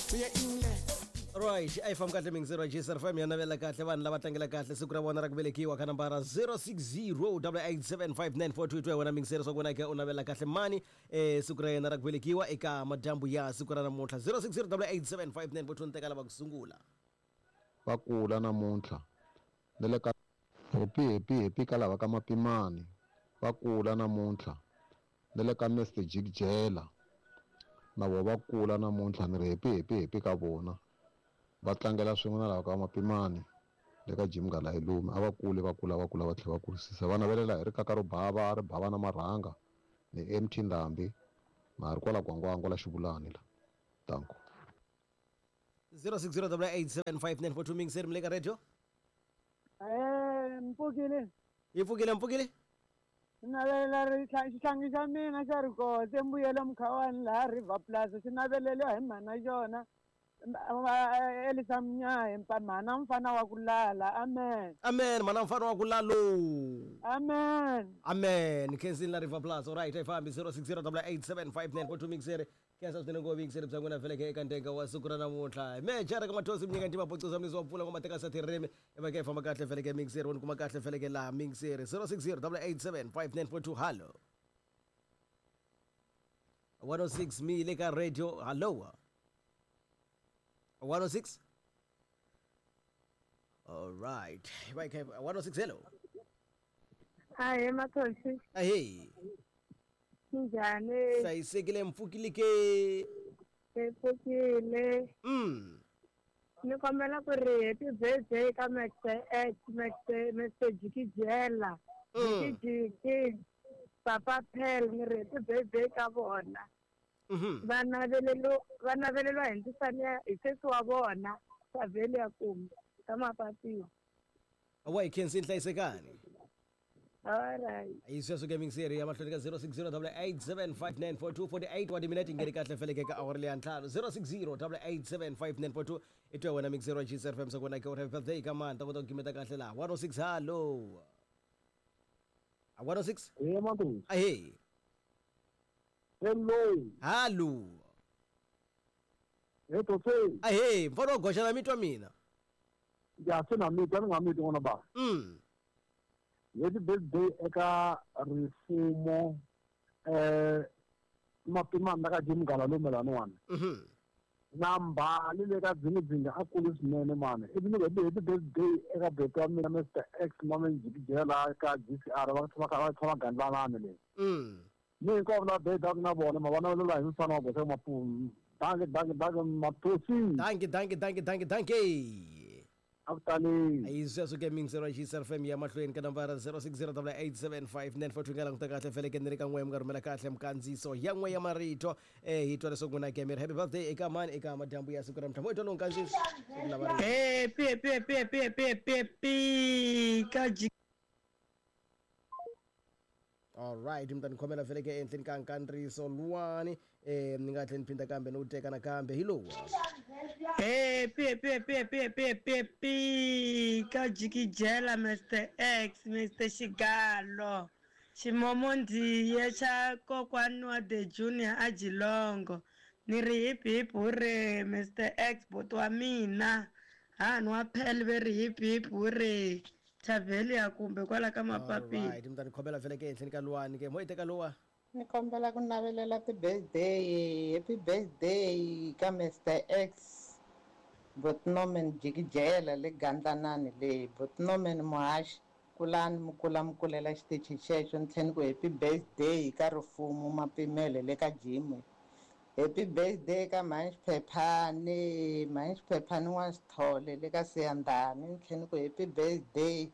Right, a yi fambi kahle mingisero ya JSR FM ya navela kahle vanhu lava tlangela kahle siku ra vona ra ku velekiwa ka nambara 0608875942 twa wena mingisero swa ku wena ke u navela kahle mani siku ra yena ra ku velekiwa eka madyambu ya siku ra namuntlha 0608875942 ni teka lava ku sungula. Va kula namuntlha na le ka happy happy happy ka lava ka Mapimani va kula namuntlha na le ka Mr Jikijela na vona va kula namuntlha ni ri happy happy happy ka vona va tlangela swin'we na lava ka Mapimani le ka Jim Ngalayilume a va kule va kula va kula va tlhela va kurisisa va navelela hi rikaka ro bava ri bava na marhanga ni MT Ndhambi na ha ri kwala Gwangwangwa la Xivulani la danko. 0608875942 mingiseri mi le ka radio. Mpfukile. Yi pfukile mpfukile. Navelela ri xihlangi xa mina xa rikotse mbuyelo Mkhawani laha River Plus xi naveleliwa hi mhana xona Elisa Mnyayi mhana mfana wa ku lala. Amen. Amen mhana mfana wa ku lalo. Amen. Amen. Khensini la River Plus. All right, ayifambi 0608875942 mingiseri. Khensa swinene ngopfu vuyingiseri bya n'wina veleke eka ndenga wa siku ra namuntlha. Mejara ka Mathosi mi nyika ntima bocuza mlisi wa mpfula ngoma teka sa tirimi eva ke famba kahle veleke mingiseri woni kuma kahle veleke la mingiseri 0608875942 hello. 106 mi le ka radio hello. 106. All right. Right, 106 hello. Ahee Mathosi. Ahee. Njhani? Hlayisekile mpfukile ke. Mpfukile. Ni kombela ku ri happy birthday ka Mr X, Mr Jikijela. Jikijiki, Papa Pel, ni ri happy birthday ka vona. Va naveleliwa hi ndzisana ya hi sesi wa vona, Saveli ya Kumbe, ka Mapatiwa. Wa hi khensini hlayisekani. All right. Hi sweswo ke mingiseri ya mahlweni ka 0608875942 48 wa timinete ngeri kahle feleke ka awara leya ntlhanu 0608875942 i twa wena mingiseri wa JSR FM swa ku wena ke u happy birthday ka mani ta kota ku gimeta kahle laha 106 hello. 106. Hey Mathosi. Ahee. Hello. Hello. Hey Tosi. Ahee, mfana wa goxa na mitwa mina. Ya se na mitwa ni nga mitwi n'wana ba. Happy birthday eka rifumo Mapimani la ka Jim Ngalalume laniwani. Na mbali le ka Dzingadzinga a kulu swinene mani. Ivi ni ku happy birthday eka beti wa mina Mr X Mame Jikijela ka GCR va va tshama Gandlalani le. Ni hinkwavo lava birthday na vona ma va navelela hi mfana wa goxa Mapumu. Danke danke danke Mathosi. Danke danke danke danke danke. Akutani. Hi sweswo ke mingisero ya JSR FM ya mahlweni ka nambara 0608875942 nga languta kahle feleke ni ri ka n'we mi nga rhumela kahle mikandziyiso ya n'we ya marito hi twa leswaku n'wina ke mi ri happy birthday eka mani eka madyambu ya siku ra namuntlha mo hi twa lowu nkandziyiso lava ri Happy happy happy happy happy happy ka G. All right, mi ta ni khomela feleke ehenhleni ka nkandziyiso luwani ni nga tlhela ni phinda kambe ni wu teka nakambe hi lowu. Happy happy happy happy happy happy happy ka Jikijela Mr X Mr Xigalo Ximomondiye xa kokwani wa The Junior a Jilongo ni ri hip hip hurray Mr X boti wa mina hani wa Pel ve ri hip hip hurray Thaveli ya kumbe kwala ka Mapapila. All right, mi ta ni khomela feleke ehenhleni ka luwani ke mo hi teka luwa. Ni kombela ku navelela ti-birthday, happy birthday ka Mr X Botnomen Jikijela le Gandlanani le Botnomen Muhaxi kulani mi kula mi kulela xitichi xexo ni tlhela ni ku happy birthday ka Rifumo Mapimele le ka Jimwe. Happy birthday ka Mhani Xiphephani, Mhani Xiphephani wa Xithole le ka Siyandhani ni tlhela ni ku happy birthday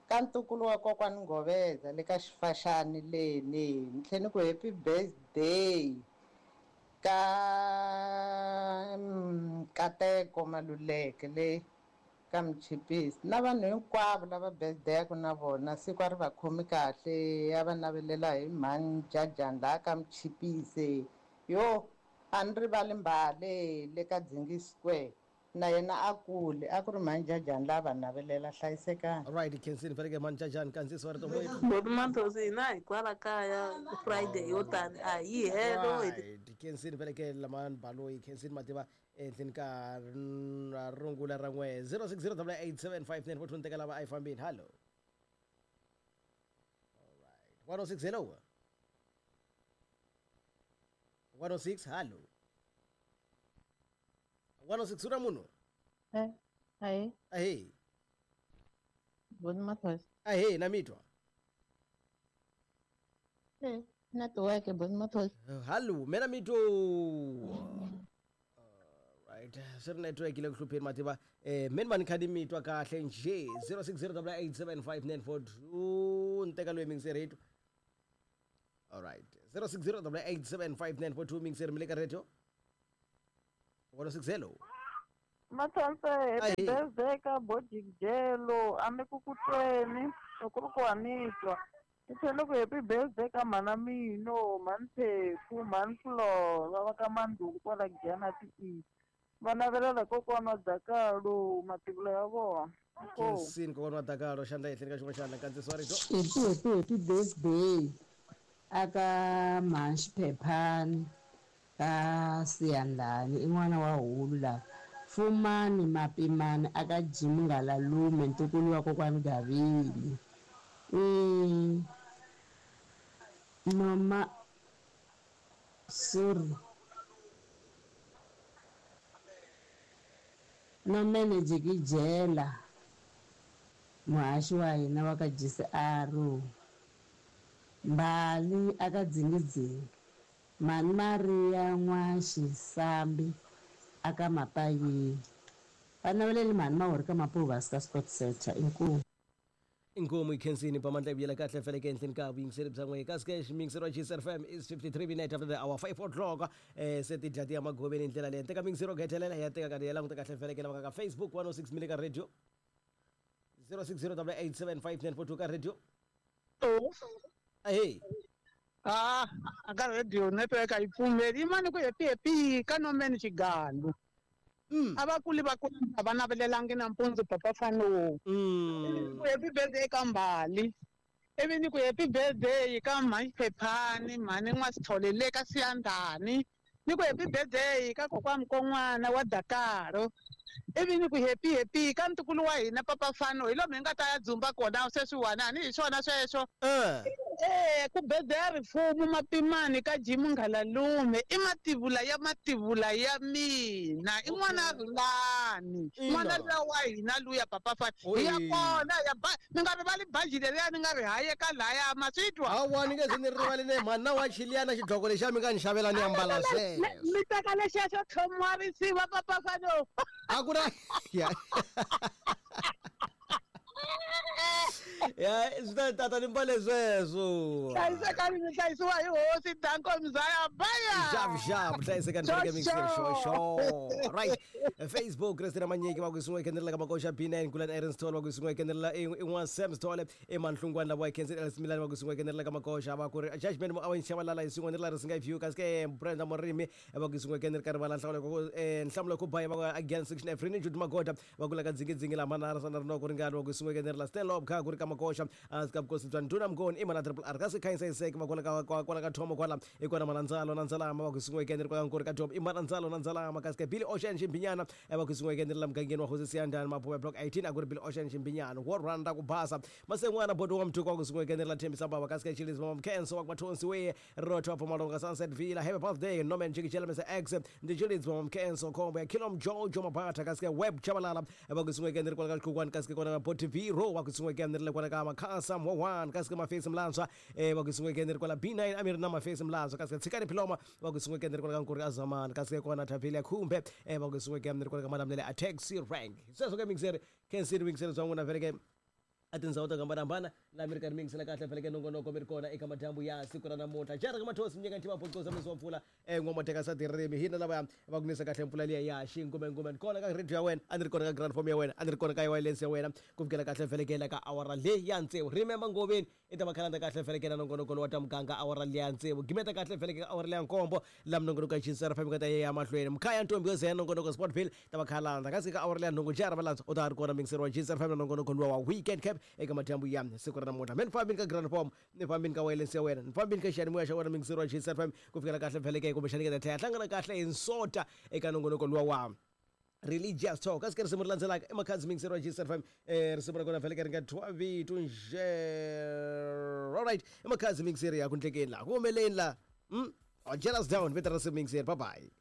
ka ntukulu wa kokwani Ngoveza le ka Xifaxani leni ni tlhela ni ku happy birthday ka Nkateko Maluleke le ka Mchipisi na vanhu hinkwavo lava birthday-aku na vona siku a ri va khomi kahle ya va navelela hi Mhani Jajani laha ka Mchipisi yo a ni rivali Mbale le ka Dzingi Square na yena a kule a ku ri Mhani Jajani lava va navelela hlayisekani. All right, khensini faneke Mhani Jajani kandziyiso wa rito moyeni. Boti Mathosi hina hi kwala kaya Friday yo tani a yi helo. Right, khensini faneke lamani Baloyi khensini mativa Ehenhleni ka rungula ra n'we 0608875942 ni teka lava a yi fambini. Hallo, 106, hello, 106, hallo, 106, u na munhu? Eh, ahee. Ahee. Boni Mathosi. Ahee, na mi twa? Eh, network Boni Mathosi. Hallo, mina mi twa. Right, swi ri network yi le ku hlupheni mativa. Me ni va ni kha ni mi twa kahle njhe. 0608875942 ni teka loyi mingiseri hi twa. Alright, 0608875942 mingiseri mi le ka radio 106, hello. Mathonse, happy Ahee. birthday ka Bojikjelo, a ni ku ku tweni, loko ku ri ku wa ni twa. Ni tlhela ku happy birthday ka mhana Mino, mhani Phephu, mhani Flora va ka Mandhuku kwala Giyani ti Va navelela kokwana wa Dakalo mativula ya vona. Inkomu. Khensini kokwana wa Dakalo xandla ehenhleni ka xin'wana xandla nkandziyiso wa rito. Happy happy happy birthday aka mhani Xiphephani ka Siyandhani i n'wana wa hulu la Fumani Mapimani aka Jim Ngalalume ntukulu wa kokwani Gavili i noma sorry Nomene Jikijela muhaxi wa hina wa ka GCR Mbali aka Dzingidzingi Mhani Maria N'waxisambi aka Mapayini va naveleli mhani Mahori ka Mapuva ka Scott Setter inkomu. Inkomu ikhensini pamandla ibuyela kahle feleke enhleni ka vuyingiseri bya n'we kasi ke xiyingiseri wa GCR FM is 53 minutes after the hour 5 o'clock. Se ti dya ti ya magoveni hi ndlela leyi teka miyingiseri yo gethelela ya teka karhi ya languta kahle feleke lava ka Facebook 106 mile ka radio 0608875942 ka radio. Ahee. Ah, a ka radio network a yi pfumeli. Yimani ku happy happy ka Nomeni Xigalu. A va kuli va kula a va navelelangi nampundzu papa Fano. Ku happy birthday ka Mbali. Ivi ni ku happy birthday ka mhani Phephani, mhani N'wasithole le ka Siyandhani. Ni ku happy birthday ka kokwana Mkon'wana wa Dakaro. Ivi ni ku happy happy ka ntukulu wa hina papa Fano hi lomu hi nga ta ya dzumba kona sweswiwani a ni hi swona sweswo. Ku birthday ya rifumo Mapimani ka Jim Ngalalume i mativula ya mativula ya mina i n'wana Rhulani n'wana luya wa hina luya papa Fano hi ya kona ya ba mi nga rivali baji leriya ni nga ri hayeka laya ma swi twa. Hawa ni nge ze ni rivali ne mhani na wa chiliyana xidloko lexiya mi nga ni xavela ni ambala sweswo. Mi teka lexiya xo tlhomiwa risiva papa Fano. A ku na ya ya swi ta tata ni mbale sweswo. Hlayisekani mi hlayisiwa hi hosi Danko Mzaya baya. Xavu xavu hlayisekani faneke mixer xo xo. Right, Facebook Christina Manyiki va ku sun'we khendelela ka makoxa B9 Kulan Aaron Stole va ku sun'we khendelela i n'wa Sam Stole i Manhlungwana lava wa Khensi Ellis Milani va ku sun'we khendelela ka makoxa va ku ri Judgment mo awen Shabalala hi sun'we ni la risinga view kasi ke Brenda Morimi va ku sun'we khendelela ka rivala nhlawulo ku nhlamulo ku baya va ku again section F Rini Jude Magoda va ku la ka dzingidzingi la manara sana rinoko ringani va ku sun'we khendelela Stanley kha ku ri ka makoxa ka vukosi bya Nduna Mngoni i mana Triple R kasi khanyisa iseke va kwala ka kwala ka Thomo kwala i kona Manandzalo na Ndzalama va ku sun'we khendelela kwala nkuri ka Thomo i Manandzalo na Ndzalama kasi ke Billy Ocean Ximbinyana va ku sun'we khendelela mugangeni wa Hosi Siyandhani Mapuve block 18 a ku ri Billy Ocean Ximbinyana wo rhandza ku basa Masen'wana bodo wa Mthuko wa ku sun'we khendelela Thembisa Baba kasi ke Chilizi Mama Mkhenso wa ku Mathonsi we Rotho wa Mpumalanga Sunset Villa happy birthday Norman Jikijela Mr X ndi Chilizi Mama Mkhenso khombo ya Kilom Jojo Mabata kasi ke Web Chabalala va ku sun'we khendelela kwala ka Xikhukwana kasi ke kona na Bot V Ro va ku sun'we khendelela kwala ka Makhasa Mwawan kasi ke Mafesi Mlantswa va ku sun'we khendelela kwala B9 Amiri na Mafesi Mlantswa kasi ke Tshikani Philoma va ku sun'we khendelela kwala ka Nkuri Azamani kasi ke kona Thavile ya Khumbe va ku sun'we khendelela kwala ka Malamulele a taxi rank sweswo ke mixer khensini mixer bya n'wina vele ke a tindhawu to hambanahambana laha mi ri karhi mi yingisela kahle feleke nongonoko mi ri kona eka madyambu ya siku ra namuntlha jara ka mathosi mi nyika ntima bocosa misi wa mpfula n'wamateka sa tirimi hina lava va ku nisa kahle mpfula liya ya xingumengume ni kona ka radio ya wena a ni ri kona ka grand form ya wena a ni ri kona ka wireless ya wena ku fikela kahle felekela ka awara leyi ya tsevu. Remember ngoveni i ta va khalanda kahle felekela nongonoko lowa ta muganga awara leyi ya tsevu gimeta kahle feleke ka awara leya nkombo laha minongonoko ya Chisara FM ka ta ya mahlweni mkhaya ntombi yo zeya nongonoko Sportville ta va khalanda kasi ka awara leya nhungu jara valandza u ta ri kona mingiseri wa Chisara FM na nongonoko luwa wa weekend cap. eka madyambu ya siku ra namuntlha. Me ni fambini ka grand form, ni fambini ka wireless ya wena, ni fambini ka xiyanimoya xa wena mingiseri wa GCFM ku fikela kahle vheleke, kumbexani ka ta tlhela hlangana kahle hi nsota eka nongonoko luwa wa Religious Talk. Kasi ke risimu ri landzelaka i Makhadzi, mingiseri wa GCFM. Risimu ra kona vheleke ri nga thwa vito nje. Alright, i Makhadzi, mingiseri ya ku ndlekeni laha ku humeleni la. Jealous down vito ra risimu, mingiseri. Bye bye.